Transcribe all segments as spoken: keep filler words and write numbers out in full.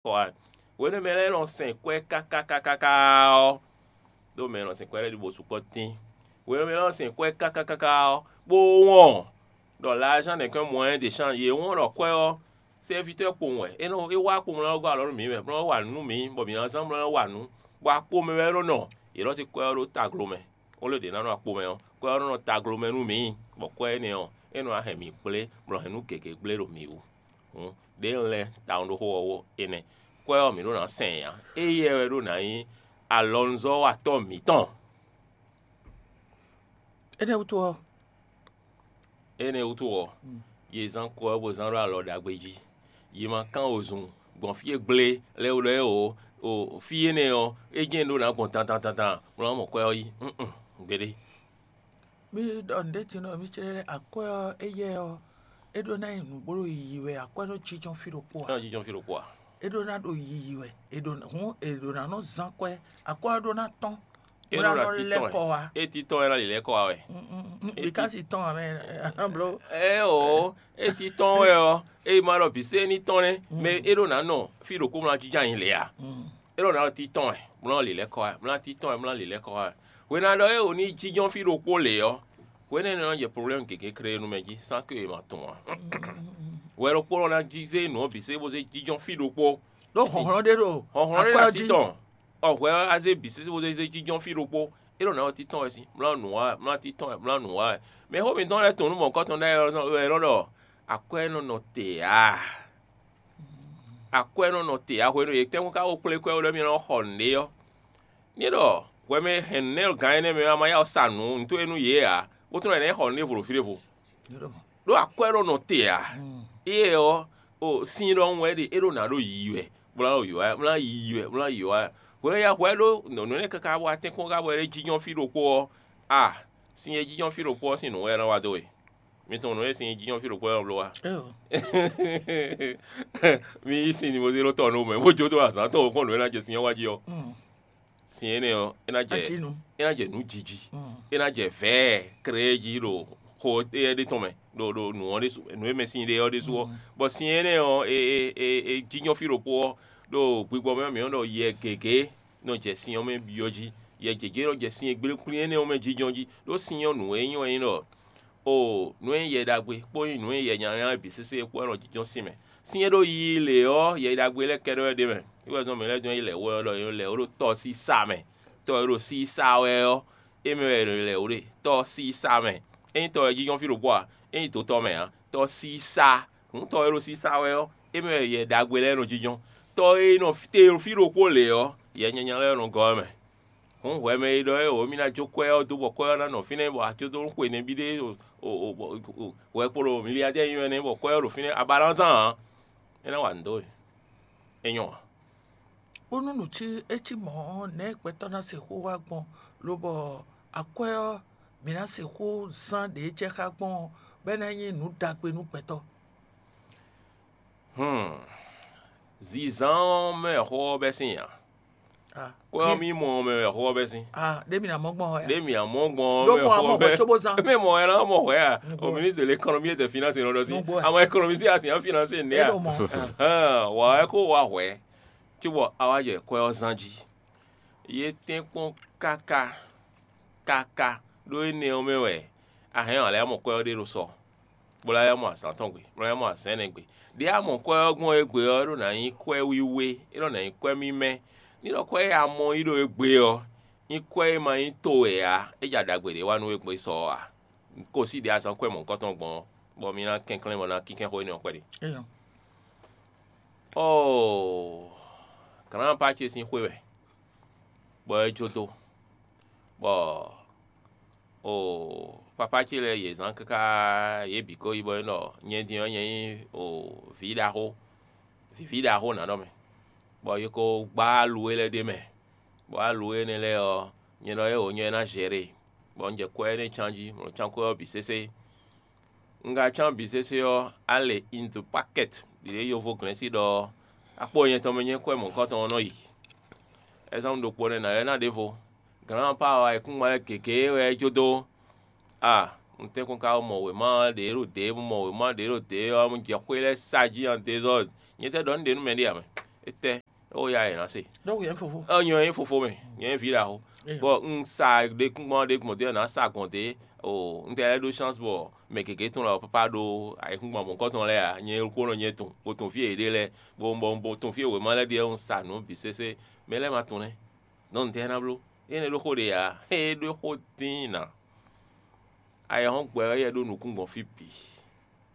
kɔ wá. Hwenu e mɛ lɛ́ɛ nɔ sɛn kwɛ́ káká káká ɔ́, ɖó mɛ e nɔ sɛn kwɛ́ lɛ́ɛ ɖi bó sukpɔ́ tín. Hwenu e mɛ lɛ́ɛ nɔ sɛn kwɛ́ káká káká ɔ́, bó wɔn ɖɔ l'argent n'est qu'un moyen d'échange. Yě wɔn ɖɔ kwɛ́ ɔ́, sɛ́vitɔ́ kpowun wɛ. É nɔ é wá kpowun lɛ́ɛ gɔ́ alɔ nú mǐ wɛ, bó nɔ́ wa nǔ nú mǐ, bɔ mǐ ná zán bó nɔ́ wa nǔ. Bɔ akpo mɛ wɛ é nɔ nɔ. Yě nɔ sí kwɛ́ ɔ́ ɖó taglo mɛ. Wolo ɖě ná nɔ akpo mɛ ɔ́, kwɛ́ ɔ́ nɔ nɔ taglo mɛ nú mǐ, bɔ kwɛ́ énɛ́ ɔ́, é nɔ wá hɛn mǐ kplé, bɔ hɛn nǔ gěgé gblé ɖo mǐ wú. Hǔn, ɖěe un lɛ́ tawun ɖó xó ɔ́ wó énɛ́. Kwɛ́ ɔ́, mǐ ɖó ná sɛn ǎ. Éyɛ́ wɛ ɖó ná nyí alɔnuzɔ́watɔ́ mǐtɔn. Énɛ́ wútu ɔ́, énɛ́ wútu ɔ́, yě zán kwɛ́ ɔ́ bó zán ɖó alɔ ɖagbe jí. Yě ma kán wozun gbɔn fí e gblé lɛ́ɛ wú ɖɔ é o, o fí énɛ́ ɔ́, é jɛ́n ɖó ná gbɔn dandan dandan, bó ná mɔ kwɛ́ ɔ́ yí. Nǔ gbeɖé. Mi ɖɔ nǔɖé din ɖɔ mi clɛ́ lɛ́ɛ akwɛ́ ɔ́, éyɛ́ ɔ́, é ɖó ná nyí nǔ bó ɖo yiyi wɛ, akwɛ́ nɔ jínjɔ́n fí ɖokpó ǎ. É nɔ jínjɔ́n fí ɖokpó ǎ. É ɖó ná ɖo yiyi wɛ, è ɖo hǔn è ɖǒ ná nɔ zán kwɛ́, akwɛ́ ɔ́ ɖó ná tɔ́n, é bó ná ɖó ná nɔ lɛ́ titɔn kɔ wá. É titɔn é ná lǐlɛ́ kɔ wá wɛ. Bíkásì tɔn ǎ mɛ bló. Ɛ o, é titɔn wɛ ɔ́, é ma ɖɔ bǐ sé ní tɔn nɛ́, mɛ é ɖó ná nɔ fí ɖokpó mlá jínjɔ́n anyi lě ǎ. É ɖó ná ɖo titɔn wɛ, mlá lǐlɛ́ kɔ wá, mlá titɔn wɛ, mlá lǐlɛ́ kɔ wá. Hwena ɖɔ é o ní jínjɔ́n fí ɖokpó lě ɔ́, hwenɛ́ nɔ jɛ problème gěgé kré nú mɛ jí, sán ké e ma tunwun ǎ. Hwɛ ɖokpó nɔ ná jí zé nǔ ɔ́ bǐ sé bó zé jínjɔ́n fí ɖokpó. Ɖó hlɔ̌nhlɔ́n ɖé ɖo hlɔ̌nhlɔ́n ɖé ɖo así tɔn. Ɔ hwɛ ɔ́, azé bǐ sésé bó zé zé jínjɔ́n fí ɖokpó. É ɖo nǎ ɔ́ títɔn wɛ sín, mlá nǔ wa wɛ, mlá títɔn wɛ, mlá nǔ wa wɛ. Mɛ xó mǐtɔn lɛ́ɛ tunwun nú mɔ̌hunkɔtɔn ɖ'ayǐ wɛ nɔ ɖɔ akwɛ́ nɔ nɔ te ǎ. Akwɛ́ nɔ nɔ te ǎ hwenu e tɛ́nkpɔ́n ka ko kplé kwɛ́ ɖɔ mì nɔ xɔ nǔɖé ɔ́. Ní ɖɔ hwɛ mɛ e hɛn nǔ nɛ́ gǎn énɛ́ mɛ ɔ́, a ma yá wɛ sa nǔ nǔtɔn e nú yě ǎ, bó tlɔ́n ɛnɛ́ xɔ nǔɖé vo ɖo fí ɖěvo. Ɖó akwɛ́ nɔ nɔ te ǎ. Éyɛ́ ɔ́, o sin ɖɔhun wɛ é ɖe, é ɖo nǎ ɖo yiyi wɛ, bó ná ɖo yǒ wá, bó ná yiyi wɛ, bó ná yǒ wá. Hwɛ e ya hwɛ ɖó nǔ énɛ́ káká wá tɛ́nkpɔ́n ká bɔ é jínjɔ́n fí ɖokpó ɔ́, a sin e jínjɔ́n fí ɖokpó ɔ́ sín nǔ wɛ é nɔ wá dó we. Mi tunwun nǔ e sin e jínjɔ́n fí ɖokpó ɔ́ nɔ bló wá. Mi yí sin ni bó zé ɖó tɔ nú mɛ, bó jó dó azǎn tɔn kɔn nǔ e ná jɛ sin ɔ́ wá jí ɔ́. Sin énɛ́ ɔ́, é ná jɛ é ná jɛ nǔ jiji, é ná jɛ vɛ̌ɛ kré jí ɖo xo éyɛ́ ɖé tɔn mɛ, ɖo ɖo nǔ ɔ́ ɖésú, nǔ e mɛ sin ɖe ɔ́ ɖésú ɔ́. Bɔ sin énɛ́ ɔ́, e e e e jínjɔ́n fí ɖokpó ɔ́, ɖo gbigbɔ mɛ ɔ́ mǐ nɔ ɖɔ yɛ gěgé nɔ jɛ sin ɔ́ mɛ byɔ́ jí. Yɛ gěgé nɔ jɛ sin e gblé kwlín énɛ́ ɔ́ mɛ jínjɔ́n jí, ɖó sin ɔ́ nǔ e nyí wɛ nyí ɖɔ o nǔ e nyí yɛ ɖagbe kpó nyí nǔ e nyí yɛ nyanya bǐ sésé kpó wɛ nɔ jínjɔ́n sin mɛ. Sin e ɖo yiyi lě ɔ́, yɛ ɖagbe lɛ́ɛ kɛɖɛ́ wɛ ɖ'é mɛ. É wɛ zɔ́n mǐ lɛ́ dɔn yi lɛ̌ wɛ ɔ́ ɖɔ è nɔ lɛ̌ wó ɖo tɔsísá mɛ. Tɔ e ɖo sísá wɛ ɔ́, é mɛ wɛ è nɔ lɛ̌ wó ɖe tɔsísá mɛ. Ényí tɔ wɛ jínjɔ́n fí ɖokpó a? Ényí dǒtɔ́ mɛ ǎ, tɔsísá. Hǔn tɔ e ɖo sísá wɛ ɔ́, é mɛ wɛ yɛ ɖagbe lɛ́ɛ nɔ jínjɔ́n. Tɔ e nɔ te ɖo fí ɖokpó lě ɔ́, yɛ nyanya lɛ́ɛ nɔ gɔ́ ɛ mɛ. Hǔn hwɛ mɛ e ɖɔ é o, mì ná jó kwɛ́ ɔ́ dó bɔ kwɛ́ ɔ́ ná nɔ fínɛ́, bɔ acódónú xwe nɛbí ɖé hwɛ kpo ɖo miliyadɛ́ nyi wɛ nɛ́, bɔ kwɛ́ ɔ́ ɖo fínɛ́, a ba ná zán ǎ. É ná wa nǔ dó we. É nyɔ́ ǎ. Bónú nǔ cí é cí mɔ̌ ɔ́, nɛ̌ gbɛtɔ́ ná sixú wá gbɔn, lobɔ akwɛ́ ɔ́, mǐ ná sixú zán ɖě jɛ xá gbɔn ɔ́, bɔ é ná nyí nǔ ɖagbe nú gbɛtɔ́? Hmm. Zǐnzán ɔ́ mɛ xó ɔ́ bɛ́ sín ǎ. Kwɛ́ ɔ́ mì mɔ ɔ́ mɛ wɛ xó ɔ́ bɛ́ sín. Ɖé mi ná mɔ gbɔn wɛ. Ɖé mi amɔ gbɔn ɔ́, ɖó mɛ mɔ xó amɔ ɔ́ bɛ́. Bɔ tso bó zán. Mɛ mɔ ɛ ná mɔ hwɛ a? Au ministre de l'économie et des finances nɔ ɖɔ sí. Nugbo ɛ. Àwọn économiste àti àwọn financier ní a. Wà ɛ kó wà hwɛ. Cóbɔ a wá jɛ kwɛ́ ɔ́ zán jí. Yé tɛ́nkpɔ́n káká káká ɖó énɛ́ ɔ́ mɛ wɛ a hɛn ɔ́, a lɛ́ mɔ kwɛ́ ɔ́ ɖé ɖo sɔ, bó lɛ́ mɔ azǎn tɔn gbe, bó lɛ́ mɔ azǎn ɛnɛ gbe. Ɖě a mɔ kwɛ́ ɔ́ gbɔn égbé ɔ́, é ɖó ná nyí kwɛ́ wíwé, é ɖó ná nyí kwɛ́ mímɛ́. Ní ɖɔ kwɛ́ e a mɔ yí ɖo égbé ɔ́, nyí kwɛ́ e ma nyí towe ǎ, é ja ɖagbe ɖě wa nú we gbɔn sɔ ɔ́ ǎ. Ko sí ɖě a zán kwɛ́ mɔ̌hunkɔtɔn gbɔn ɔ́, bɔ mi ná kɛnklɛ́n bɔ ná kínkɛ́n xó énɛ́ ɔ́ kpɛɖé. Éyɔ. Ɔ́ɔ, Grand-papa ce sín xwé wɛ, bɔ é jó dó, bɔ o papa ce lɛ́ɛ yě zán káká, yě bǐ ko yi bɔ é ɖɔ nyɛ din ɔ́, nyɛ nyí o vǐ ɖaxó, vǐví ɖaxó nǎ ɖɔ mɛ, bɔ yě ko gbá alu e lɛ́ɛ ɖ'é mɛ, bɔ alu énɛ́ lɛ́ɛ ɔ́, nyɛ ɖɔ éeǒ, nyɛ ná zɛ ɖe, bɔ un jɛ kwɛ́ énɛ́ cán jí, bɔ un cán kwɛ́ ɔ́ bǐ sésé. Un ka cán bǐ sésé ɔ́, a le in the packet ɖě yovo glɛ́n sí ɖɔ ɔ́, akpó nyɛ tɔn mɛ nyɛ kwɛ́ mɔ̌hunkɔtɔn ɔ́ nɔ yi. Ɛzɔ́mlu ɖokpó nɛ́ nǎ lɛ́ ná ɖěvo. Glǎnpa ɔ́ ayǐkúngban lɛ́ɛ gěgé wɛ é jó dó. A un tɛ́nkpɔ́n ka mɔ wěma ɔ́ ɖě ɖo dě, un mɔ wěma ɖě ɖo dě ɔ́, un jɛ xwé lɛ́ɛ sa jí an dezɔ́. Nyɛ tɛ́ ɖɔ nǔ ɖě nú mɛ ɖé ǎ mɛ. Étɛ́ ó ya yě ná se? Donc yẹn fofo. Ɔ nyɔ nyí fofo mɛ, nyɔ nyí vǐ ɖaxó. Eyo. Bɔ un sa ɖe kúngbɔn ɖe gbɔn ɖe ná sa gbɔn ɖe. O un tɛ lɛ́ ɖó chance bɔ mɛ gěgé tɔn lɛ papa ɖó ayǐkúngban mɔ̌hunkɔtɔn lɛ́ɛ ǎ. Nyɛ kó nɔ nyɛ tun bó tun fí e yě ɖe lɛ́ɛ, bó bɔ bó tun fí e wěma lɛ́ɛ ɖe ɔ́, un sa nǔ bǐ sésé. Mɛ lɛ́ɛ ma tunwun nɛ́. Nɔ́ un tɛ ná bló? Énɛ́ ɖó xó ɖe ǎ. É ɖó xó dín ná. Ayɛhɔ́ngbe ɔ́ yɛ ɖó nukún gbɔn fí bǐ,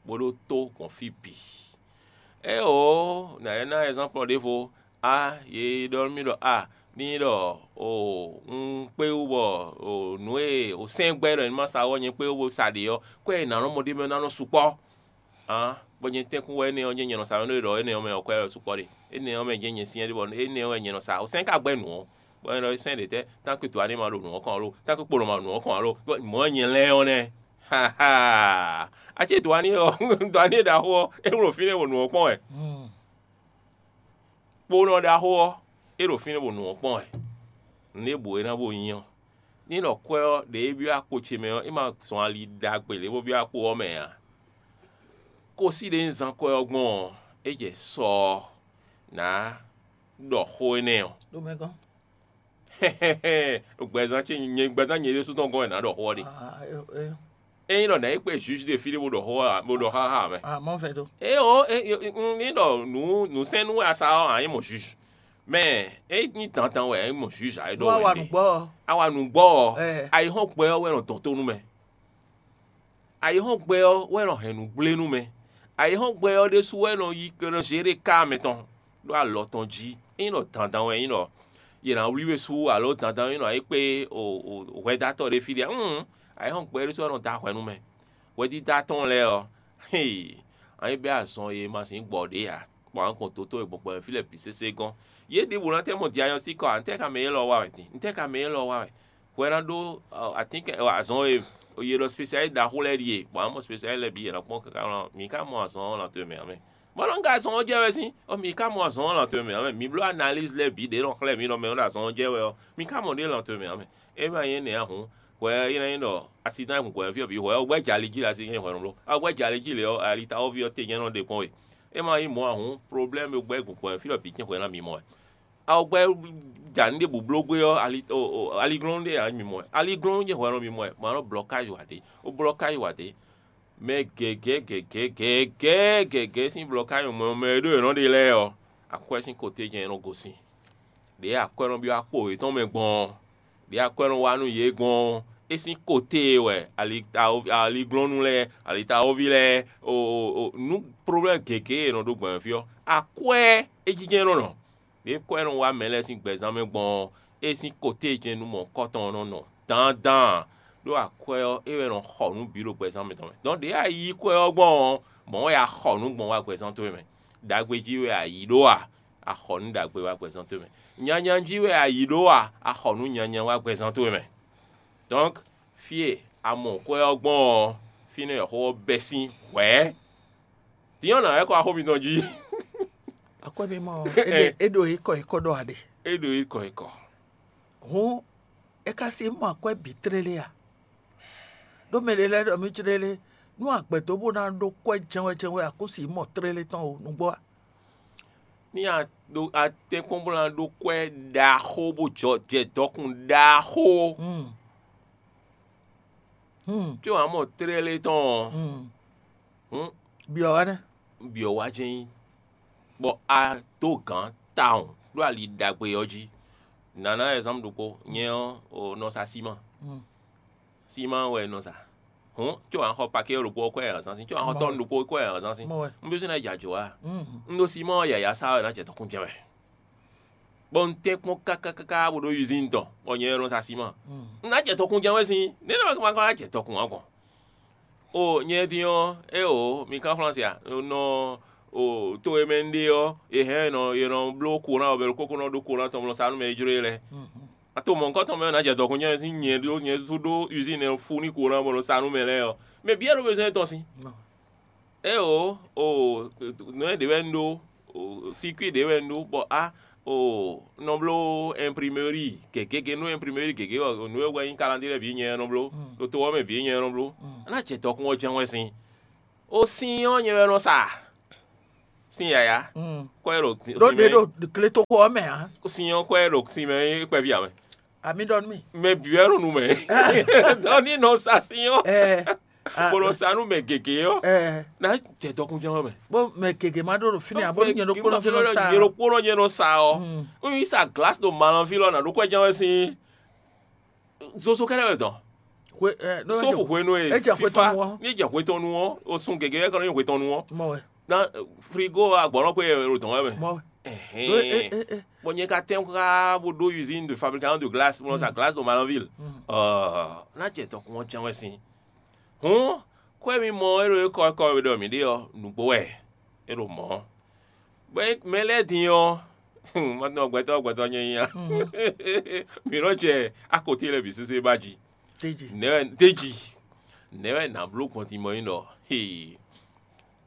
bó ɖó tó gbɔn fí bǐ. Éeǒ, nǎ lɛ́ ná ɛzánplɔ ɖěvo. A yě ɖɔ nú mì ɖɔ a ní ɖɔ o un kpé wú bɔ o nǔ e o sɛ́n gbɛ́ ɖɔ ní ma sa ɔ́ nyɛ kpé wú bó sa ɖě ɔ́, kwɛ́ e nǎ nɔ mɔ ɖ'é mɛ ná nɔ sukpɔ́. Hǎn, bɔ nyɛ tɛ́nkún wɛ énɛ́ ɔ́ jɛ́n nyɛ nɔ sa mɛ ɖó ɖɔ énɛ́ ɔ́ mɛ ɔ́ kwɛ́ wɛ sukpɔ́ ɖe. Énɛ́ ɔ́ mɛ jɛ́n nyɛ syɛ́n ɖé bɔ énɛ́ ɔ́ wɛ nyɛ nɔ sa. O sɛ́n ka gbɛ́ nǔ ɔ́, bɔ é ɖɔ é sɛ́n ɖě tɛ́, tán kpé to ɔ́ ní ma ɖo nǔ ɔ́ kɔn alo, tán kpé kpo nɔ ma ɖo nǔ ɔ́ kɔn alo, mɔ̌ wɛ nyɛ lɛ́ɛ ɔ́ nɛ́. Haha. Acé to ɔ́ ní ɔ to ɔ́ ní ɖaxó ɔ́, é wlǒ fínɛ́ bɔ nǔ ɔ́ kpɔ́n wɛ. Kponɔ ɖaxó ɔ́, é ɖo fínɛ́ bɔ nǔ ɔ́ kpɔ́n wɛ. Nǔ e bǔ é ná bó nyí ɔ́, ní ɖɔ kwɛ́ ɔ́ ɖě é byɔ́ akpo ce mɛ ɔ́, é ma zɔn ali ɖagbe lě bó byɔ́ akpo ɔ́ mɛ ǎ. Kosí ɖě un zán kwɛ́ ɔ́ gbɔn ɔ́, é jɛ sɔ ɔ́, nǎ ɖɔ xó énɛ́ ɔ́. Ɖo mɛ gɔ́n. Gbɛzán ce nyɛ gbɛzán nyɛ ɖésú tɔn gɔ́n wɛ nǎ ɖɔ xó ɔ́ ɖe. Ah, eh, eh, Ényí ɖɔ nǎ yi kpé juge ɖé fí ɖé bó ɖɔ xó ǎ, bó ɖɔ xáxá mɛ. ah, mɔ vɛ do. Éeǒ, ní ɖɔ nǔ nǔsɛ́nnú wɛ a sa ɔ́, ǎ nyí mɔ juge. Mɛ é nyí dandan wɛ é mɔ juge ǎ é Nú ɖɔ awa wɛ nǔgbɔ ɔ́. Awa nǔgbɔ ɔ́, Eh. ayǐhɔ́ngbe ɔ́ wɛ nɔ dɔn tó nú mɛ. Ayǐhɔ́ngbe ɔ́ wɛ nɔ hɛn nǔ gblé nú mɛ. Ayǐhɔ́ngbe ɔ́ ɖésú wɛ nɔ yi nɔ zé ɖé ká mɛtɔn ɖó alɔ tɔn jí. Ényí ɖɔ dandan wɛ nyí ɖɔ yě ná wlí we sú alo dandan nyí ɖɔ é kpé o o hwɛdátɔ́ ɖé fí ɖé. Hǔn ayǐhɔ́ngbe ɖésú wɛ nɔ da hwɛ nú mɛ. Hwɛdídá tɔn lɛ́ɛ ɔ́, hee, anyí bɛ́ azɔn e ma sǐn gbɔ ɖě ǎ, bɔ a nǎ gbɔn dotó e gbɔn gbɔn fí lɛ́ɛ bǐ sésé gɔ́n. Yě ɖěbǔ ná tɛ́ mɔ diagnostic ɔ́ ǎ, ntɛ́ ka mɛ élɔ́ wa wɛ din? Ntɛ́ ka mɛ élɔ́ wa wɛ? Hwɛ ná ɖó atínkɛn azɔn e yě ɖɔ spécialiste ɖaxó lɛ́ɛ ɖíe, bɔ a nǎ mɔ spécialiste lɛ́ɛ bǐ yě ná kpɔ́n káká mlɔ́, mi ka mɔ azɔn ɔ́ lan towe mɛ ǎ mɛ. Bɔ nɔ ka azɔn ɔ́ jɛ wɛ sín, ɔ mi ka mɔ azɔn ɔ́ lan towe mɛ ǎ mɛ. Mi bló analyse lɛ́ɛ bǐ ɖě nɔ xlɛ́ mi ɖɔ mɛ ɔ́ ɖo azɔn ɔ́ jɛ wɛ ɔ́, mi ka mɔ ɖě lan towe mɛ ǎ mɛ. É ma nyí énɛ́ ǎ hǔn, hwɛ é ná nyí ɖɔ asidán e gbɔn hwɛ fí ɔ́ bǐ hwɛ ɔ́ gbɛ́ jɛ ali jí le asi nyɛ hwɛ nɔ bló. A gbɛ́ jɛ ali jí le ɔ́, ali ta ɔ́ ví ɔ́ te nyɛ nɔ ɖe kpɔ́n we. É ma nyí mɔ̌ ǎ hǔn, problème e gbɛ́ gbɔn hwɛ fí ɔ́ bǐ jɛ́n hwɛ ná mi mɔ wɛ. A gbɛ́ ja nǔ ɖěbǔ bló gbé ɔ́, ali o- o- aliglɔ́nú ɖé ǎ mi mɔ wɛ. Aliglɔ́nú jɛ́n hwɛ nɔ mi mɔ wɛ, mɔ̌ ná blɔkázi wǎ ɖé. Ó blɔkázi wǎ ɖé. Mɛ gěgé gěgé gěgé gěgé sín blɔkázi mɛ mɛ e ɖó yě nɔ ɖe lɛ́ɛ ɔ́, akwɛ́ sín koté jɛ́n é nɔ gosín. Ɖě akwɛ́ nɔ byɔ́ akpo yětɔn mɛ gbɔn ɔ́, ɖě akwɛ́ nɔ wá nú yě gbɔn ɔ́, é sín koté e wɛ ali- aliglɔ́nú lɛ́ɛ, alitawóví lɛ́ɛ, o- o- o- nú problème gěgé e è nɔ ɖó gbɔn fí ɔ́, akwɛ́ é jínjɛ́n nɔ nɔ. Ɖě kwɛ́ nɔ wá mɛ lɛ́ɛ sín gbɛzán mɛ gbɔn ɔ́, é sín koté e jɛ́n nú mɔ̌hunkɔtɔn ɔ́ nɔ nɔ dandan, ɖó akwɛ́ ɔ́, é wɛ nɔ xɔ nǔ bǐ ɖo gbɛzán mɛtɔn mɛ. Dɔn ɖě a yí kwɛ́ ɔ́ gbɔn ɔ́, mɔ̌ wɛ a xɔ nǔ gbɔn wá gbɛzán towe mɛ. Ɖagbe jí wɛ a yǐ ɖó a? A xɔ nǔ ɖagbe wá gbɛzán towe mɛ. Nyanya jí wɛ a yǐ ɖó a? A xɔ nǔ nyanya wá gbɛzán towe mɛ. Donc, fí e a mɔ kwɛ́ ɔ́ gbɔn ɔ́, fínɛ́ wɛ xó ɔ́ bɛ́ sín hwɛ̌. Din ɔ́ nǎ wɛ kɔ axó mitɔn jí. Akwɛ́ mi mɔ ɔ́, é ɖo- é ɖo é kɔ é kɔ ɖɔ aɖe. É ɖo é kɔ é kɔ. Hǔn é ka si mɔ akwɛ́ bǐ tlélé a? Ɖó mɛ ɖé lɛ́ɛ ɖɔ mì tlélé, nú agbɛ̌ dó bó ná ɖó kwɛ́ jɛ́nwɛ jɛ́nwɛ a kó si mɔ tlélé tɔn o nǔgbó a? Ní a ɖo a tɛ́nkpɔ́n bó ná ɖó kwɛ́ ɖaxó bó jɔ jɛ dɔkun ɖaxó. Hmm. Hmm. Có a mɔ tlélé tɔn ɔ́, Hmm. hǔn Byɔ wá nɛ́. byɔ wá jɛ́n nyí, bɔ a dó gǎn tawun ɖó ali ɖagbe ɔ́ jí. Nǎ ná ɛzanpu ɖokpó, nyɛ ɔ́ o nɔ sa síma. Hmm. Síma wɛ nɔ sa. Hǔn có a xɔ pakɛ́ ɖokpó ɔ́ kwɛ́ ɛhɛn zán sín, có a xɔ tɔ́nu ɖokpó kwɛ́ ɛhɛn zán sín. Mɔ wɛ. Un ɖésú ná jɛ ajɔ wá. Hmm. Un ɖo síma ɔ́ yǎyá sa wɛ ná jɛ tɔkún jɛ wɛ. Bɔ un tɛ́nkpɔ́n kákákáká bó ɖó usín tɔn, bɔ nyɛ ɔ́ nɔ sa síma. Hmm. Un ná jɛ tɔkún jɛ wɛ sín, nɛ́ nɔ ma ka ná jɛ tɔkún wá gbɔn. O nyɛ din ɔ́, é o mi kán Flánsi a? Nɔ o to e mɛ un ɖe ɔ́, è hɛn nɔ è nɔ bló kóná ɔbɛ ɖokpó kó nɔ ɖó kóná tɔn mlɔ sa nú mɛ e jló e lɛ́ɛ. Hmm. A to mɔ nukɔn tɔn mɛ ɔ́ ná jɛ dɔkun nyɛ sín nyɛ ɖó nyɛ sú ɖó usín ɛ fú ní kóná bɔ nɔ sa nú mɛ lɛ́ɛ ɔ́. Mɛ bǐ wɛ ɖó bezɔn tɔn sín. Mɔ. É o o nǔ e ɖě wɛ un ɖó, o sikui ɖě wɛ un ɖó, bɔ a o nɔ bló imprimerie gěgé nú imprimerie gěgé ɔ́, nǔ e wɛ nyí kalandé lɛ́ɛ bǐ nyɛ nɔ bló, Hmm. ɖo to ɔ́ mɛ bǐ nyɛ nɔ bló. Hmm. A ná jɛ dɔkun ɔ́ jɛ́n wɛ sín. O sin ɔ́ nyɛ wɛ nɔ sa. Sín yǎyá, kɔ́ é ɖo ɖó ɖě ɖo gletoxo ɔ́ mɛ ǎ. Sín ɔ́, kɔ́ é ɖo sin mɛ é kpɛví ǎ mɛ. Ami ɖɔ nú mì. Mɛ bǐ wɛ ɖo nu mɛ. Dɔn ní nɔ sa sín ɔ́, ɛ bó nɔ sa nú mɛ gěgé ɔ́, ɛ ná jɛ dɔkun jɛ́n wɛ mɛ. Bó mɛ gěgé má ɖó ɖo fínɛ́ abo nyɛ ɖokpónɔ fínɛ́ sa. Nyɛ ɖokpónɔ nyɛ nɔ sa ɔ́. Mm. N yi sa glasi ɖo malɔnví lɔ nǎ ɖó kwɛ́ jɛ́n wɛ sín zozo kɛ́ɖɛ́ wɛ dɔn. Hwe ɛ ɖó sófo hwenu e é jɛ xwé tɔn nu ɔ́. Ní jɛ xwé tɔn nu ɔ́, o sun gěgé wɛ kɔ ní xwé tɔn nu ɔ́. Mɔ wɛ. Na frigo agbɔnɔ kpé ɖo dɔn wɛ mɛ. Mɔ wɛ. Ɛhɛn. Bɔn nyɛ ka tɛn xá bó ɖó usine de fabrication de glace bó nɔ sa glace ɖo Malanville. Ɔɔ, ná jɛ dɔkun ɔ́ jɛn wɛ sín. Hǔn, xwé mi mɔ e ɖo é kɔ kɔ e ɖɔ mǐ ɖe ɔ́, nǔgbó wɛ é ɖo mɔ̌. Bɔ é mɛ lɛ́ɛ din ɔ́, ma tunɔ gbɛtɔ́ gbɛtɔ́ nyɛ nyí a. Mǐ nɔ jɛ akotí lɛ́ɛ bǐ sésé ba jí. Teji. Nɛ̌ wɛ teji? Nɛ̌ wɛ nǎ bló gbɔn din mɔ nyí ɖɔ hee,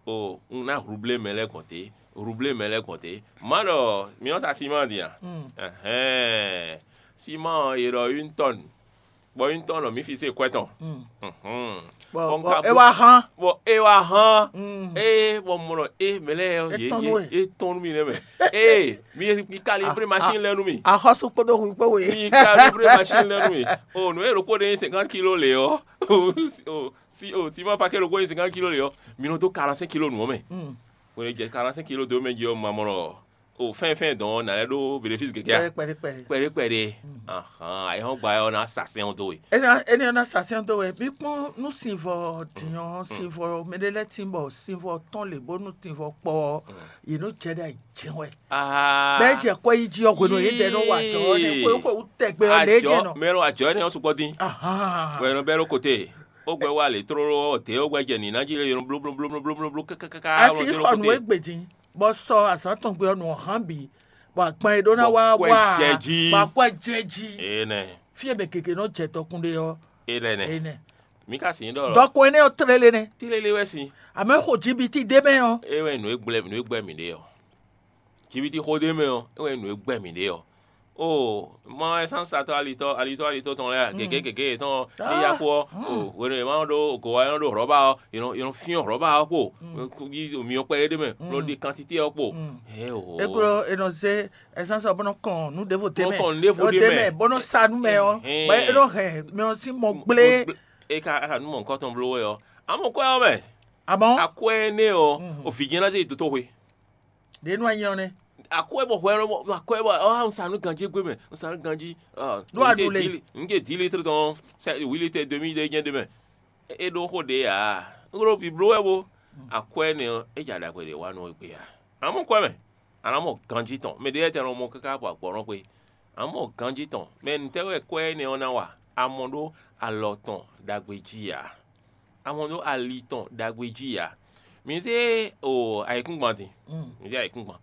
o un ná rublé mɛ lɛ́ɛ gbɔn té, rublé mɛ lɛ́ɛ gbɔn té. Má ɖɔ mǐ nɔ sa siman din a? Ɛhɛn, siman ɔ́ è ɖɔ une tonne, bɔ une tonne ɔ́ mǐ fi se kwɛ tɔn. Bɔ é wá hán. Bɔ é wá hán. Ee bɔ mɔ ɖɔ e mɛ lɛ́ɛ ɔ́ yě yě é tɔn nú mì nɛ́ mɛ. Ee mi mi kalibré machine lɛ́ɛ nú mì. Axɔ́sú kpódó hu kpó we. Mi kalibré machine lɛ́ɛ nú mì. O nǔ e ɖokpó ɖe nyí cinquante kilo lě ɔ́, o si o si o siman pakɛ́ ɖokpó nyí cinquante kilo lě ɔ́, mi nɔ dó quarante-cinq kilo nǔ ɔ́ mɛ. Hwenu e jɛ quarante-cinq kilo dó mɛ jí ɔ́, ma mɔ ɖɔ o fɛ́nfɛ́n dɔn ɔ́ nǎ lɛ́ ɖó bénéfice gěgé a? Kpɛɖé kpɛɖé. Kpɛɖé kpɛɖé. Ahan ayihɔn gba ɔ́ ná sa sɛn ɔ́ dó we. Énɛ́ énɛ́ ɔ́ ná sa sɛ́n dó we. Mí kpɔ́n nú sinvɔ din ɔ́, sinvɔ mɛɖé lɛ́ɛ tín bɔ sinvɔ tɔn lě bónú tinvɔ kpɔ ɔ́, yě nɔ jɛ ɖe ayǐ jɛ́n wɛ. Bɛ́ jɛ kwɛ́ yí jí ɔ́ hwenu e yědɛɛ nɔ wa jɔ ɔ́ nɛ́ xwé xwé wú tɛgbɛ ɔ́ lě jɛ nɔ. Mɛ lɔ ajɔ énɛ́ ɔ́ sukpɔ́ dín. Wɛ nɔ bɛ́ ɖó kote. Ó gbɛ wá lě tlóló ɔ́, tě ó gbɛ jɛ nǐ ná jí lé yɔn blóblóblóblóbló kɛ́kɛ́kɛ́ká. Asi xɔ nǔ e gbe din, bɔ sɔ azǎn tɔn gbe ɔ́ nǔ ɔ́ hán bǐ, bɔ agban e ɖó ná wá wá, bɔ akwɛ́ jɛ jí. Énɛ́. Fí e mɛ gěgé nɔ jɛ dɔkun ɖe ɔ́, Énɛ́. Énɛ́. Mǐ ka sǐ ɖɔ lɔ. Dɔkun énɛ́ ɔ́ tlélé nɛ́. Tlélé wɛ sín. Amɛ xo jibiti ɖé mɛ ɔ́. É wɛ nǔ e gblɛ nǔ e gbɛ mǐ ɖe ɔ́. Jibiti xó ɖé mɛ ɔ́, é wɛ nǔ e gbɛ mǐ ɖe ɔ́. Oo, ma wɛ sán satɔ́ alitɔ́ alitɔ́ alitɔ́ tɔn lɛ́ɛ a? Gěgé gěgé yětɔn ɔ́, ní yá kú ɔ́, o hwenu e ma nɔ ɖó go ɔ́, é nɔ ɖó hlɔ̌ba ɔ́, è nɔ è nɔ fyɔ́n hlɔ̌ba ɔ́ kpo, yi myɔ kpɛɖé ɖé mɛ, bó nɔ ɖi kantité ɔ́ kpo. Hɛ̌ o. É kplɔ́ è nɔ zé ɛsánsɔ bó nɔ kɔn nǔ ɖěvo d'é mɛ. Bó nɔ kɔn nǔ ɖěvo d'é mɛ. Bó nɔ sa nú mɛ ɔ́, bɔ é nɔ hɛn mɛ ɔ́ sín mɔ gblé. É ka ka nú mɔ nǔkɔn tɔn bló wɛ ɔ́, amɔ kwɛ ɔ́ mɛ. Amɔ akwɛ énɛ́ ɔ́, o vǐ jɛ́n ná zé yi dotóxwe. Ɖě nú anyi ɔ́ nɛ́. Akwɛ bɔ hwɛ lɔ akwɛ bɔ ɔ́ un sa nú ganjí gbé mɛ, un sa nú ganjí. Ɖó aɖu le. Un jɛ dix litre tɔn sɛ huit litre demi ɖé jɛ́n ɖé mɛ. É ɖó xó ɖě ǎ. Un ɖo bǐbló wɛ bó. Akwɛ énɛ́ ɔ́, é jɛ aɖaxwe ɖě wa nú we gbe ǎ. Amɔ kwɛ mɛ, a nǎ mɔ ganjí tɔn. Mɛ ɖě lɛ́ɛ tɛn nɔ mɔ káká bɔ agbɔ̌ nɔ xwe. A nǎ mɔ ganjí tɔn. Mɛ nǔtɛ́ wɛ kwɛ́ énɛ́ ɔ́ ná wa? A mɔ ɖó alɔ tɔn ɖagbe jí ǎ. A mɔ ɖó ali tɔn ɖagbe jí ǎ. Mi zé o ayǐkúngban din. Mi zé ayǐkúngban.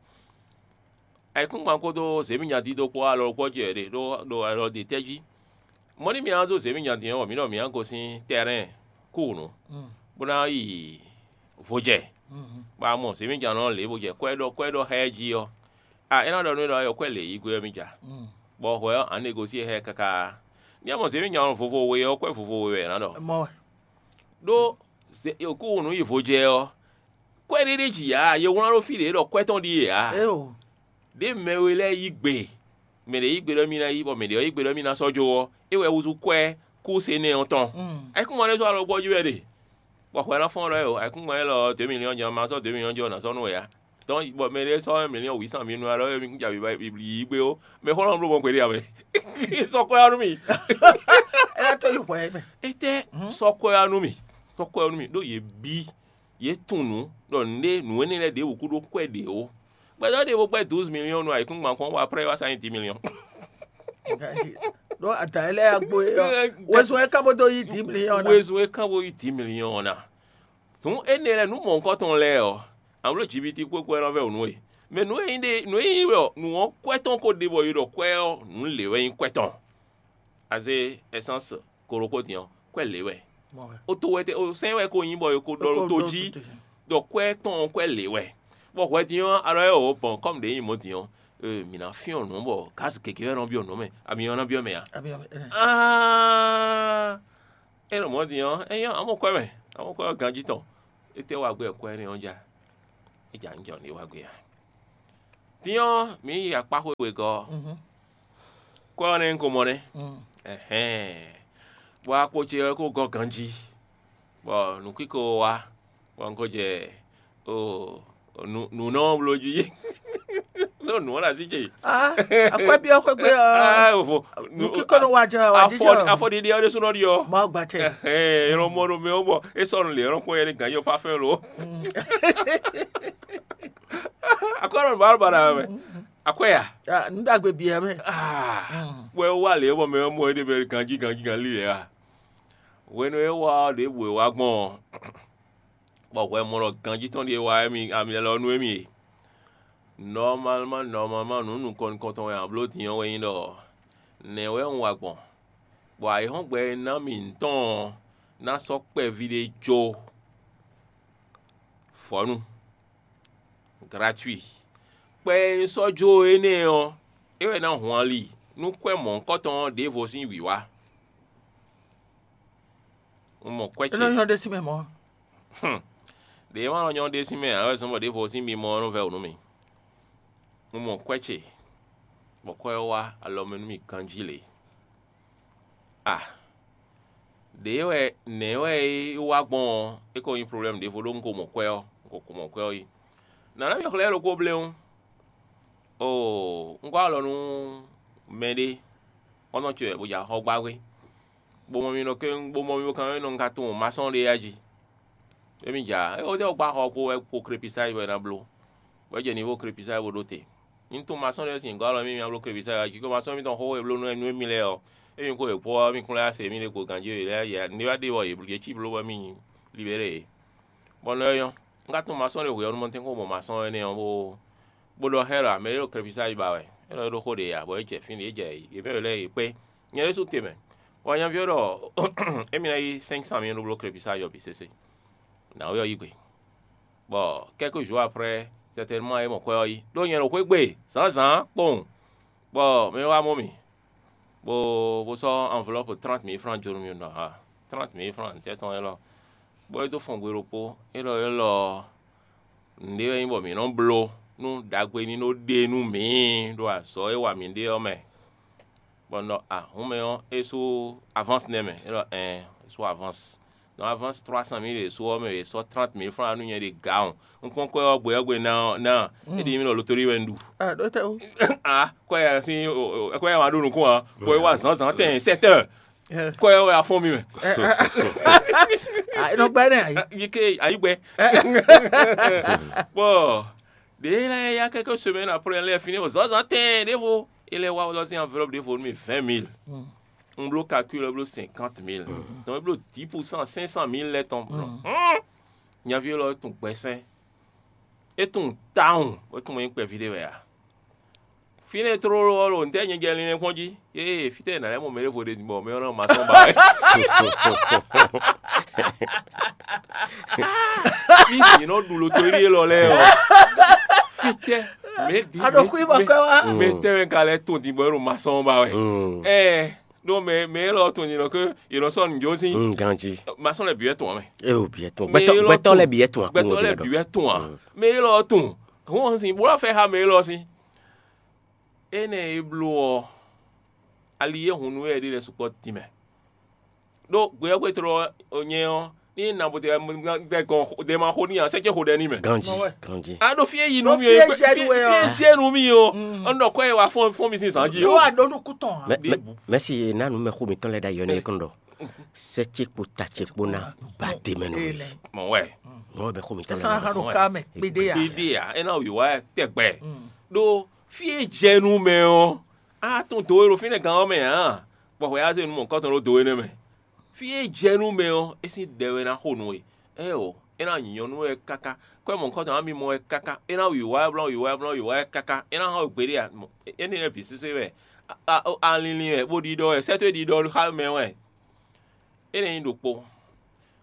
Ayǐkúngban kpódó zěmínya dídó kpó alɔ kpɔ́ jɛ ɖe ɖó ɖo alɔ ɖe tɛ́ jí. Mɔ̌ ní mi ná dó zěmínya din ɔ́, mǐ ɖɔ mǐ ná gosín tɛ́rɛ́n kúnnu, bó ná yi vo jɛ. Bɔ a mɔ zěmíjan ɔ́ lě bó jɛ kwɛ́ ɖɔ kwɛ́ ɖɔ xá ɛ jí ɔ́, a é ná ɖɔ nú we ɖɔ ayɔ kwɛ́ lě yí gbe ɔ́ mì ja, bɔ hwɛ ɔ́, a nǎ negosíé xá ɛ káká. Ní a mɔ zěmíjan ɔ́ vovo we ɔ́, kwɛ́ vovo we wɛ è nǎ ɖɔ. Mɔ wɛ. Ɖó kúnnu yi vo jɛ ɔ́, kwɛ́ ɖé ɖé ji ǎ, ye wlán ɖó fí ɖě ɖɔ kwɛ́ tɔn ɖíe ǎ. Eo. Ɖěe mɛ we lɛ́ɛ yí gbe, mɛ ɖě yí gbe ɖɔ émí ná yí, bɔ mɛ ɖě ɔ́ yí gbe ɖɔ émí ná sɔ́ jó ɔ́, é wɛ húzú kwɛ́ kú se nɛ́ ɔ́ tɔn. Ayǐkúngban ɖé sɔ́ alɔ gbɔ́ jí wɛ ɖe, bɔ hwɛ ná fɔ́n ɖɔ ɛ o, ayǐkúngban élɔ́ ɔ́, dě miliyɔn jɛ́n ma sɔ́ dě miliyɔn jɛ́n ɔ́ ná sɔ́ nú wɛ ǎ. Tɔn bɔ mɛ ɖé sɔ́ miliyɔn wǐ san mi nu alɔ é mi ja yi gbé ó, mɛ xɔlɔ́ bló gbɔn gbeɖé ǎ mɛ. Sɔ́ kwɛ́ ɔ́ nú mì. É ná tó yi hwɛ mɛ. Étɛ́ sɔ́ kwɛ́ ɔ́ nú mì, sɔ́ kwɛ́ ɔ́ nú mì, ɖó yě bí. Yě tunwun nǔ ɖɔ nǔɖé nǔ énɛ́ lɛ́ɛ ɖěbǔ kúɖó kwɛ́ ɖě ó. Gbɛtɔ́ ɖěvo gbɛ́ douze millions nú ayǐkúngban kpɔ́n, bɔ après wá sá nyí dix millions. Ɖó adǎ e lɛ́ɛ agbo é ɔ́, wezun e ká bó dó yí dix millions ná. Wezun e ká bó yí dix millions ná. Tǔn énɛ́ lɛ́ɛ nǔ mɔ̌hunkɔtɔn lɛ́ɛ ɔ́, amló jibiti kpókpó ɛ nɔ vɛ́ wǔ nú we. Mɛ nǔ e nyí ɖe nǔ e nyí wɛ ɔ́, nǔ ɔ́ kwɛ́ tɔn ko ɖe bɔ è ɖɔ kwɛ́ ɔ́, nǔ lě wɛ nyí kwɛ́ tɔn. Azé essence ko ɖokpó din ɔ́, kwɛ́ lě wɛ. O to wɛ tɛ o sɛn wɛ ko nyí bɔ è ko ɖɔ ɖo to jí, ɖɔ kwɛ́ tɔn ɔ́ kwɛ́ lě wɛ. Bɔ hwɛ din ɔ́, alɔ e wǒ bɔn kɔ́mu ɖě nyí mɔ̌ din ɔ́, mǐ ná fyɔ́n nǔ bɔ gǎzi gěgé wɛ nɔ byɔ́ nǔ mɛ, ami ɔ́ ná byɔ́ mɛ ǎ. Aa, é nɔ mɔ̌ din ɔ́, é nyɔ́ amɔ kwɛ́ mɛ, amɔ kwɛ́ ɔ́ ganjí tɔn. Étɛ́ wa gbɛ kwɛ́ énɛ́ ɔ́ ja? É jɛ anyǐjɔ ní wá gbe ǎ. Din ɔ́, mǐ yi akpá xwé wegɔ́ ɔ́, kwɛ́ ɔ́ nɛ́ un ko mɔ nɛ́. Ɛhɛ̌n. Bɔ akpo ce ɔ́ ko gɔ́ ganjí, bɔ nǔkíko wá, bɔ un ko jɛ nǔ nǔ nɔ bló jí. Nɔ nǔ ɔ́ ɖo así ce. Ah, akwɛ́ byɔ́ xwé gbe ɔ́. Ah, vo. Nǔkíko nɔ wá jɛ wá jí jɔ. Afɔɖiɖi ɔ́ ɖésú nɔ ɖi ɔ́. Mawu gba cɛ. Ɛhɛn, è nɔ mɔ ɖo mɛ ɔ́ bɔ é sɔ́ nɔ lě, é nɔ kpɔ́n yɛ ní gǎn yɔ parfɛn lo. Akwɛ́ nɔ nǔ ba nɔ ba ɖa mɛ. Akwɛ́ ya. Ah, nǔ ɖagbe bǐ wɛ mɛ. Ah, wɛ wá lě bɔ mɛ ɔ́ mɔ é ɖe mɛ ganjí ganjí ganlí lě a? Hwenu e é wá ɔ́, ɖěbǔ e wá gbɔn ɔ́, bɔ hwɛ mɔ ɖɔ ganjí tɔn ɖíe wá émí ami lɛ́ lɔ nú émí e. Nɔmalman nɔmalman nǔ nukɔn nukɔntɔn wɛ abló din ɔ́ wɛ nyí ɖɔ nɛ̌ wɛ un wa gbɔn, bɔ ayǐhɔ́ngbe e ná mì ntɔn ɔ́ ná sɔ́ kpɛví ɖé jó vɔ̌nu gratuit. Kpɛ e un sɔ́ jó énɛ́ ɔ́, é wɛ ná hun ali nú kwɛ́ mɔ̌hunkɔtɔn ɔ́ ɖěvo sín wǐwá. Un mɔ kwɛ́ É nɔ ce. Nyɔ́ ɖésú mɛ mɔ̌. Ɖě ma nɔ nyɔ́ ɖé sín mɛ ǎ wɛ zɔ́n bɔ ɖěvo sín mimɔ ɔ́ nɔ vɛ́ wǔ nú mì. Un mɔ kwɛ́ ce, bɔ kwɛ́ ɔ́ wá alɔ mɛ nú mì ganjí lě. A, ɖě wɛ nɛ̌ wɛ é wá gbɔn ɔ́, é ko nyí problɛ́mu ɖěvo ɖó un ko mɔ kwɛ́ ɔ́, un ko ko mɔ kwɛ́ ɔ́ yi. Nǎ ná mì xlɛ́ ɖokpó bléwún. Oo, un gɔ́ alɔ nú mɛɖé, xɔ́ntɔn ce wɛ bó jɛ axɔ́ gbá xwé, bó mɔ mì nɔ kéŋ, bó mɔ mì bó kan nɔ un ka tunwun masɔ́n ɖé ya jí. Émí ja, é wǒ dé wɔ gbá xɔ kpó wɛ kpo krepisa yi wɛ ná bló, bɔ é jɛ nivo krepisa yi bó ɖó te. Un tunwun masɔ́n ɖé sín gɔ́ alɔ mì mì bló krepisa yi wá jí, có masɔ́n mì tɔn xó e bló nú nú émí lɛ́ɛ ɔ́, émí kó yě kpó ɔ́, mì kún lɛ́ wá se mí ɖé kpo ganjí yě lɛ́ yě ní wá ɖe bɔ yě cí bló bɔ mì libéré yě. Bɔ nɔ ɔ́ nyɔ́, un ka tunwun masɔ́n ɖé hwe ɔ́ nú mɔ tɛ́n kó mɔ masɔ́n énɛ́ ɔ́ bó bó ɖɔ xá ɛ ɖɔ mɛ ɖé ɖo kɛfísá yi ba wɛ, é nɔ ɖó xó ɖě ǎ, bɔ é jɛ fínɛ́, é jɛ yě mɛ lɛ́ɛ yě kpé. Nyɛ ɖésú te mɛ, bɔ nyaví ɔ́ ɖɔ émí ná yí cinq cent mille nú bló kɛfísá yɔ bǐ sésé. Nǎwe ɔ́ yí gbe, bɔ quelques jours après, certainement é mɔ kwɛ́ ɔ́ yí, ɖó nyɛ ɖo xwé gbe zǎnzǎn kpowun, bɔ mɛ wá mɔ mì, bó bó sɔ́ enveloppe trente mille francs jó nú mì ɖɔ ha trente mille francs tɛ́ tɔn élɔ́, bɔ é dó fɔn gbe ɖokpó, élɔ́ élɔ́ ɔ́, nǔɖé wɛ nyí bɔ mǐ nɔ bló nú ɖagbe ní nɔ ɖe nú mǐ ɖo azɔ̌ e wa mǐ ɖe ɔ́ mɛ. Bɔ un ɖɔ a hǔn mɛ ɔ́, é sú avance nɛ́ mɛ, é ɖɔ ɛn, é sú avance. Donc avance trois cent mille e sú ɔ́ mɛ è sɔ́ trente mille francs nú nyɛ ɖe gǎ ɔ́. Un kpɔ́n kwɛ́ ɔ́ gbe ɔ́ gbe ná ɔ́ ná, é ɖi mì ɖɔ lotoɖi wɛ un ɖu. Ah, ɖo te o. Ah, kwɛ́ ya sín kwɛ́ ya wá ɖo nukún ǎ, bɔ é wá zǎnzǎn tɛn sept heures. Kwɛ́ ɔ́ wɛ a fɔ́n mì mɛ. Ah, é nɔ gbá nɛ ayi. Yi ke ayi gbɛ. Bɔ ɖě lɛ́ɛ ya quelques semaines après lɛ́ɛ fini o zǎnzǎn tɛn ɖěvo, é lɛ́ wá wá sín enveloppe ɖěvo nú mì vingt mille. Un bló calcul ɔ́ bló cinquante mille. Donc é bló dix pour cent cinq cent mille lɛ́ɛ tɔn bló. Nyaví élɔ́ é tunwun gbɛsɛn. É tunwun tawun bó tunwun nyí kpɛví ɖé wɛ ǎ. Fínɛ́ tlóló ɔ́ ɖo ntɛ́ nyɛ jɛ linlɛn kpɔ́n jí? Ée fítɛ́ è nǎ lɛ́ mɔ mɛ ɖěvo ɖe bɔ mɛ ɔ́ nɔ ma sɔ́ ba wɛ. Fí jǐ nɔ ɖu lotoɖí élɔ́ lɛ́ɛ ɔ́, fítɛ́ mɛ ɖi A ɖo xwí bɔ kɔ́ wá. Mɛ tɛ́ mɛ ka lɛ́ tɔn din bɔ é ɖo ma sɔ́ ba wɛ? Ɛɛ ɖó mɛ mɛ élɔ́ tɔn din ɖɔ ké è nɔ sɔ́ nǔjó sín. Ganjí. Ma sɔ́ lɛ bǐ wɛ tɔn ǎ mɛ. E o bǐ wɛ tɔn. Mɛ Gbɛtɔ élɔ́ gbɛtɔ tɔn. Lɛ bǐ wɛ tɔn. Gbɛtɔ lɛ bǐ wɛ tɔn ǎ. Mɛ élɔ́ tɔn. Hɔn sin bó wá fẹ́ xá mɛ élɔ́ sín. Énɛ́ e bló ɔ́, ali e hun nú wɛ é ɖe lɛ́ɛ sukpɔ́ din mɛ. Ɖó gbeyɔ́gbetɔ́ ɔ́ nyɛ ɔ́, ní nabotɛ gbɛ gɔn ɖe ma xo n'i ǎ, sɛ́ ce xo ɖɛ n'i mɛ. Ganjí. Mɔ wɛ. Ganjí. A ɖo fí e yi nú Ɖo mì fí e ɔ́, jɛ nú we ɔ́. Fí e jɛ nú mì ɔ́, Mm. ɔn ɖɔ kɔ e wa fɔn fɔn mi sín zan jí Yóò o. Wá ɖó nukún tɔn ǎ. Mɛ- Mɛ- mɛ- Mɛsi ye ná nu mɛ xó mitɔn lɛ ɖ'ayɔ nɛ kɔn ɖɔ sɛ ce kpo ta ce kpo na ba de mɛ nɔ Ee, mi. Nɛ. Mɔ wɛ. Mɔ bɛ xó mitɔn Ɛsán lɛ ha nɔ. Ɖo ká mɛ kpédé ya. Ibi a, e na wi wa tɛgbɛ. Mm. Ɖo fí e jɛ nú mɛ ɔ́, a tún do e ɖo fínɛ́ gán ɔ́ mɛ ǎ, bɔ hwɛ á zé nu mɔ̌hunkɔtɔn ɖó do énɛ́ mɛ. Fí e jɛ nú mɛ ɔ́, é sín ɖɛ wɛ ná xo nú we. Ée o, é ná nyɔ́ nú we káká. Kɔ́ mɔ̌hunkɔtɔn á mi mɔ wɛ káká. É ná wǐwá wɛ blɔ́, wǐwá wɛ blɔ́, wǐwá wɛ káká. É ná hɔn wɛ gbeɖé a? Mɔ- Énɛ́ lɛ́ɛ bǐ sésé wɛ. A- a- Alinlin wɛ, bó ɖiɖɔ wɛ, sɛ́tó e ɖiɖɔ xá mɛ wɛ. É nɛ́ nyí ɖokpó.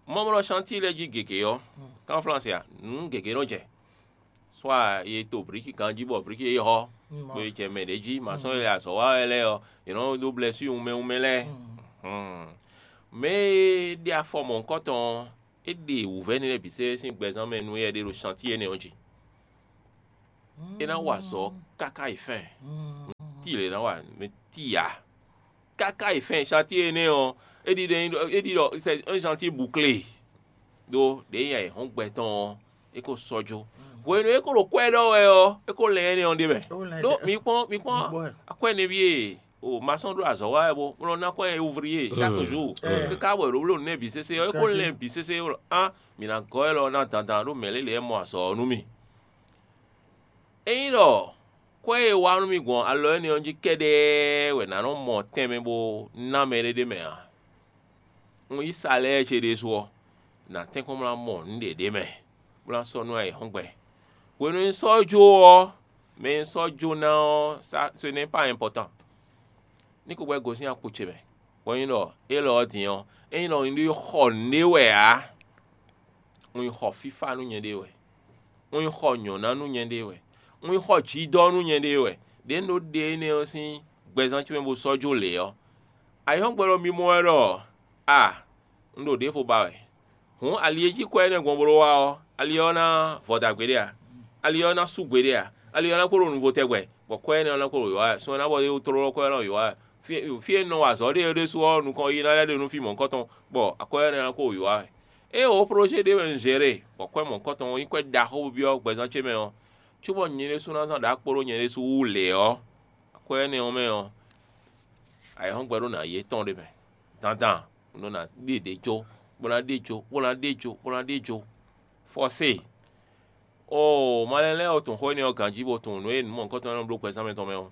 Mɔmlɔ chantier lɛ́ɛ jí gěgé ɔ́, kan Flánsi a, nǔ gěgé nɔ jɛ. Soit ye to blǐki ganjí bɔ blǐki e hɔ́, Mm. bó ye jɛ mɛ ɖě jí, masɔ́n e lɛ azɔ̌ wa wɛ lɛ́ɛ ɔ́, yě nɔ ɖó blɛ́sú wunmɛ wunmɛ lɛ́ɛ. Mm. Hmm. Mɛ e ɖe afɔ mɔ̌hunkɔtɔn ɔ́, é ɖe wǔvɛ́ énɛ́ lɛ́ɛ bǐ sɛ́ sín gbɛzán mɛ nú éyɛ́ ɖé ɖo chantier énɛ́ ɔ́ jí. É ná wa azɔ̌ káká yi fɛ́n. Tíi lě ná wa mɛ tíi ǎ. Káká yi fɛ́n, chantier énɛ́ ɔ́, é ɖi ɖɔ é ɖi ɖɔ c'est un chantier bouclé. Ɖó ɖě nya yi hɔn gbɛ tɔn ɔ́, é ko sɔ́ jó. Hwenu e é ko ɖo kwɛ́ ɖɔ wɛ ɔ́, é ko lɛn énɛ́ ɔ́ ɖ'é mɛ. Ɖó mi kpɔ́n mi kpɔ́n akwɛ́ nɛví e o ma sɔ́ ɖó azɔ̌ wa wɛ bó bó nɔ ná kwɛ́ ouvrier chaque jour. Káká wɛ ɖo bló nǔ nɛ́ bǐ sésé ɔ́, é ko lɛn bǐ sésé ɔ́, á mǐ ná gɔ́ élɔ́ ná dandan ɖó mɛ lě lě wɛ mɔ azɔ̌ ɔ́ nú mì. Ényí ɖɔ kwɛ́ e wa nú mì gbɔn alɔ énɛ́ ɔ́ jí kɛ́ɖɛ́ wɛ nǎ nɔ mɔ tɛnmɛ bó ná mɛ ɖé ɖ'é mɛ ǎ, un yí salɛ́ɛ ce ɖésú ɔ́, nǎ tɛ́nkpɔ́n bó ná mɔ nǔɖé ɖ'é mɛ, bó ná sɔ́ nú ayǐhɔ́ngbe. Hwenu e un sɔ́ jó ɔ́, mɛ e un sɔ́ jó ná ɔ́, ça ce n'est pas important. Ní ko gbɛ́ gosín akpo ce mɛ, bɔ nyí ɖɔ élɔ́ ɔ́ din ɔ́, ényí ɖɔ un ɖó xɔ nǔɖé wɛ ǎ, un yi xɔ fífá nú nyɛɖée wɛ, un yi xɔ nyɔ̌ná nú nyɛɖée wɛ, un yi xɔ jidɔ́ nú nyɛɖée wɛ. Ɖě un ɖó ɖe énɛ́ ɔ́ sín gbɛzán ce mɛ bó sɔ́ jó lě ɔ́, ayǐhɔ́ngbe ɖɔ mi mɔ wɛ ɖɔ a un ɖo ɖěvo ba wɛ. Hǔn ali e jí kwɛ́ énɛ́ gbɔn bló wá ɔ́, ali ɔ́ ná vɔ dagbe ɖé a? Ali ɔ́ ná sú gbeɖé a? Ali ɔ́ ná kpo ɖo nuvo tɛgbɛ, bɔ kwɛ́ énɛ́ ɔ́ ná kpo ɖo yǒ wá wɛ. Sun e ná bɔ é tlóló kwɛ́ ɔ́ nɔ yǒ wá wɛ. Fí fí e un nɔ wa azɔ̌ ɖe é ɖésú ɔ́, nukɔn yiyi ná lɛ́ ɖe nú fí mɔ̌hunkɔtɔn, bɔ akwɛ́ énɛ́ ná kpo wǒ yǒ wá wɛ. Ée wǒ plɔ́ xó ce ɖé wɛ un zě ɖe, bɔ kwɛ́ mɔ̌hunkɔtɔn ɔ́ nyí kwɛ́ ɖaxó byɔ́ gbɛzán ce mɛ ɔ́, cóbɔ nyɛ ɖésú ná zán ɖǎ kpódó nyɛ ɖésú wú lě ɔ́, akwɛ́ énɛ́ ɔ́ mɛ ɔ́, ayǐhɔ́ngbe ɖó nǎ yi étɔn ɖé mɛ. Dandan un ɖó ná ɖe ɖě jó, bó ná ɖe jó, bó ná ɖe jó, bó ná ɖe jó. Fɔsée! Oo, malɛn lɛ́ɛ ɔ́ tunwun xó énɛ́ ɔ́ ganjí bó tunwun nǔ e nǔ mɔ̌hunkɔtɔn e nɔ bló gbɛzán mɛtɔn mɛ ɔ́.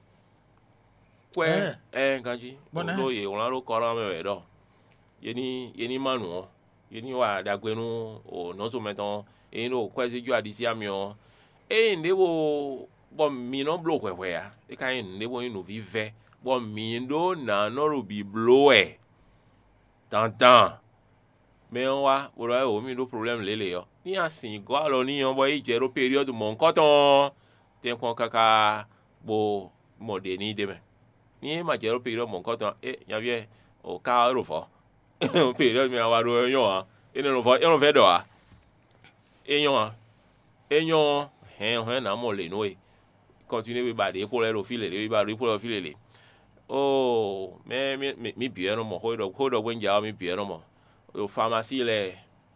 Kwɛ́, ɛɛ ganjí, ɖó yě wlán ɖó Kɔlán mɛ wɛ ɖɔ yě ní yě ní má nǔ ɔ́, yě ní wa ɖagbe nú nɔ̌zo mɛtɔn e nyí ɖo kwɛ́zíjú aɖisí amyɔ ɔ́. Ényí nǔɖé bo bɔ mi nɔ bló hwɛhwɛ ǎ, é ka nyí nǔɖé bó nyí nǔvívɛ́, bɔ mǐ ɖó nǎ nɔ ɖo bǐ bló wɛ dandan. Mɛ ɔ́ wá bó ɖɔ wɛ wǒ mì ɖó problɛ́mu lě lě ɔ́, ní a sǐn gɔ́ alɔ n'i ɔ́, bɔ é yi jɛ ɖó peryɔ́du mɔ̌hunkɔtɔn ɔ́, tɛ́nkpɔ́n káká bó mɔ ɖě n'i d'é mɛ. Ní é ma jɛ ɖó peryɔ́du mɔ̌hunkɔtɔn ɔ́, é nyaví ɔ́, o ká ɔ́ ɖo vɔ̌. Peryɔ́du mɛ a wa ɖó ɔ́ nyɔ́ ǎ, é nɔ vɔ́ é nɔ vɛ́ ɖɔ ǎ. É nyɔ́ ǎ. É nyɔ́ ɔ́, hɛn hɛn nǎ mɔ lě nú we. Kɔntinué we ba ɖě kpo lɛ́ɛ ɖo fí lě, ɖě we ba ɖě kpo lɛ́ɛ ɖo fí lě lě. Oo, mɛ mɛ mɛ mǐ bǐ wɛ nɔ mɔ xó e ɖɔ xó e ɖɔ gbé un ja ɔ́, mǐ bǐ wɛ nɔ mɔ. Ɖo famasí lɛ́ɛ,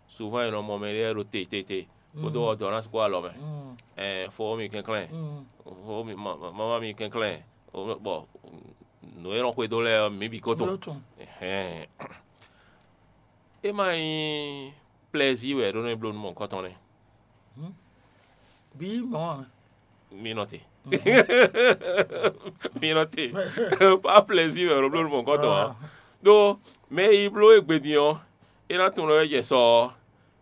suván è nɔ mɔ mɛ lɛ́ɛ ɖo te te te, kpódó ɔdɔ̌ ná sukpɔ́ alɔ mɛ. Ɛɛ, fó mi kɛnklɛ́n, fó mi ma- ma- mamá mi kɛnklɛ́n, bɔ nǔ e nɔ xwedó lɛ́ɛ ɔ́, mǐ bǐ ko tunwun. Ɛhɛn. É ma nyí plɛ́zí wɛ é ɖó nɔ bló nú mɔ̌hunkɔtɔn nɛ́. Bǐ mɔ̌ ǎ. Mi nɔ te. Mi nɔ te. Pas plaisir wɛ ɖo bló nú mɔ̌hunkɔtɔn ǎ. Ɖó mɛ e yi bló égbé din ɔ́, é ná tunwun ɖɔ é jɛ sɔ ɔ́,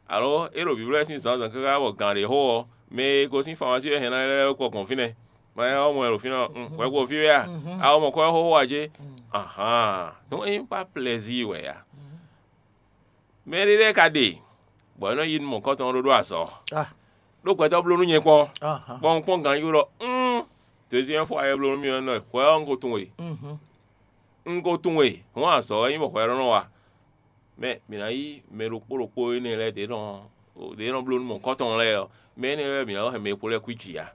alo é ɖo vǐvlɔ́ sín zǎnzǎn káká bɔ gǎn ɖě xo ɔ́, mɛ e gosín famasí wɛ hɛn ná lɛ́ kɔ gbɔn fínɛ́. Ma nyɛ ɔ́ mɔ ɛ ɖo fínɛ́ ɔ́, hwɛ ko fí wɛ a? A mɔ kɔ ɛ xóxó ǎ cé? Ahán, donc é nyí pas plaisir wɛ a? Mɛ ɖé lɛ́ɛ ka ɖe, bɔ é nɔ yi nú mɔ̌hunkɔtɔn ɔ́ ɖó ɖó azɔ̌. Ɖó gbɛtɔ́ bló nú nyɛ kpɔ́n, bɔ un kpɔ́n ganjí ɖɔ un deuxième fois e bló nú mì ɔ́ nɔ hwɛ ɔ́ un ko tunwun e. Un ko tunwun e, hɔn azɔ̌ wɛ nyí bɔ hwɛ ɖɔ nɔ wa. Mɛ mǐ ná yí mɛ ɖokpó ɖokpó énɛ́ lɛ́ɛ ɖě nɔ ɖě nɔ bló nú mɔ̌hunkɔtɔn lɛ́ɛ ɔ́, mɛ énɛ́ lɛ́ɛ mǐ ná nɔ hɛn mɛ e kpo lɛ́ɛ kwíji ǎ.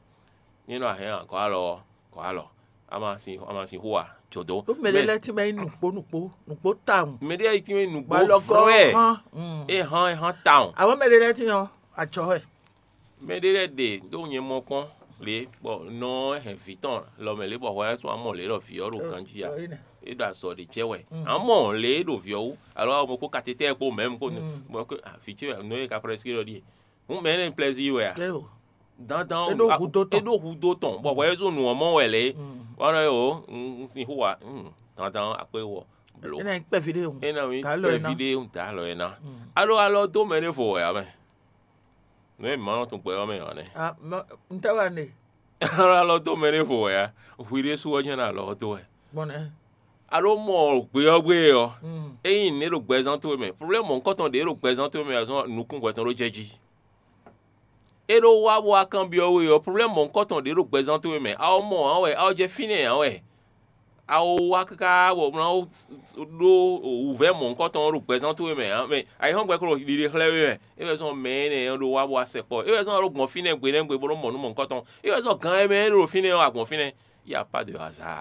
Ní nɔ a hɛn agɔ̌ alɔ ɔ́, gɔ̌ alɔ. A ma sin a ma sin xó ǎ, jǒ dó. Ɖó mɛ ɖé lɛ́ɛ tínmɛ nyí nǔkpó nǔkpó nǔkpó tawun. Mɛ ɖé lɛ́ɛ tínmɛ nyí nǔgbó vrɛ́. Bɔ alɔ gɔ́ hán. Mm. É hán é hán tawun. Àwọn mɛ ɖé lɛ́ɛ tínmɛ ɔ́, àjɔ wɛ. Mɛ ɖé lɛ́ɛ ɖe ɖó nyɛ mɔ kpɔ́n lě bɔ nɔ ɔ́ hɛn vǐ tɔn lɔ mɛ lě bɔ hwɛ ɔ́ sɔ́ amɔ lě ɖɔ vǐ ɔ́ ɖo ganjí ǎ. É ɖo azɔ̌ ɖé jɛ wɛ. Amɔ lě e ɖo vǐ ɔ́ wú, alo awo mɔ kó katetɛ́ɛ kpó mɛ̌m kó bɔ vǐ ce nɔ e ka prɛ́sí ɖɔ ɖíe. Hǔn mɛ énɛ́ plɛ́zí wɛ a? Dandan é ɖó hudó tɔn. É ɖó hudó tɔn, bɔ hwɛ é zó nǔ ɔ́ mɔ wɛ lě. Wana é o, un sin xó wa, dandan akpé wɔ blo. É ná nyí kpɛ́ví ɖé hùn. É ná nyí kpɛ́ví ɖé hùn dǎ alɔ é ná. Alo alɔ dó mɛ ɖé vo wɛ a mɛ? Nǔ e mǐ ma nɔ tunwun gbɛ ɔ́ mɛ ǎ nɛ́. N tɛ́ wɛ ne? Alɔ dó mɛ ɖé vo wɛ a? Hwi ɖésú ɔ́ jɛ́n ɖo alɔ ɔ́ dó wɛ. Gbɔn nɛ́? A ɖó mɔ gbé ɔ́ gbé ɔ́, ényí nǔɖé ɖo gbɛzán towe mɛ, problɛ́mu mɔ̌hunkɔtɔn ɖě ɖo gbɛzán towe mɛ azɔn nukún hwɛ tɔn ɖó jɛ jí. É ɖó wá bó wá kanbyɔ́ we ɔ́, problɛ́mu mɔ̌hunkɔtɔn ɖě ɖo gbɛzán towe mɛ, a wɔ mɔ ǎ wɛ, a wɔ jɛ fínɛ́ ǎ wɛ. A ko wá káká bɔ mlá ɖó wǔvɛ́ mɔ̌hunkɔtɔn ɔ́ ɖo gbɛzán towe mɛ ǎ, mɛ ayǐhɔ́ngbe ko ɖo ɖiɖe xlɛ́ we mɛ. É wɛ zɔ́n mɛ énɛ́ ɔ́ ɖo wá bó wá sɛkpɔ́. É wɛ zɔ́n ɔ́ ɖo gbɔn fínɛ́ gbe nɛ́ gbe bó nɔ́ mɔ nǔ mɔ̌hunkɔtɔn. É wɛ zɔ́n gan e mɛ é ɖo fínɛ́ ɔ́ wá gbɔn fínɛ́. Il y a pas de hasard.